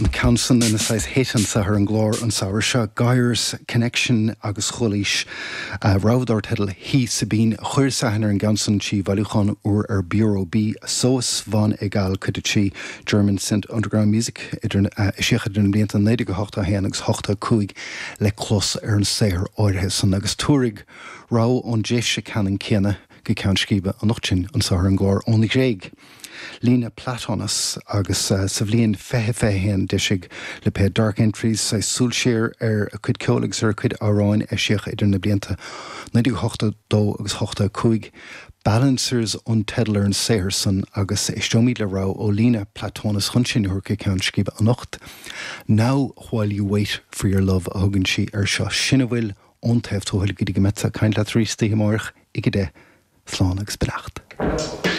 An ceann san ina saghas hit anseo ar an gclár an samhradh seo, Gaire's Connection agus chualaís rogha dar teideal He Sabine. Chuireas aithne ar an gceann san trí bhailiúchán úr ar Bureau B, Sowas von Egal, cuid 3, German Synth Underground Music, idir, eisíodh idir na blianta 1981 agus 85 le clos ar an saothar áirithe san agus tabharfaidh rogha ón dtréimhse ceannann céanna go ceann scríbe anocht sin anseo ar an gclár ón Ghréig. Lena Platonis agus sa bhliain 2021 d'eisigh lipéad Dark Entries saghas súil siar ar a cuid ceoil agus ar a cuid amhráin a eisíodh idir na blianta 1982 agus 85. Balancers an teideal ar an saothar san agus éisteoimid le rogha ó Lena Platonis chun sinn a thabhairt go ceann scríbe anocht. Now While You Wait For Your Love a thugann sí air seo. Sin a bhfuil ón Taobh Tuathail go dtí go mbeadsa ag caint leat arís oíche amárach ag 10. Slán agus beannacht.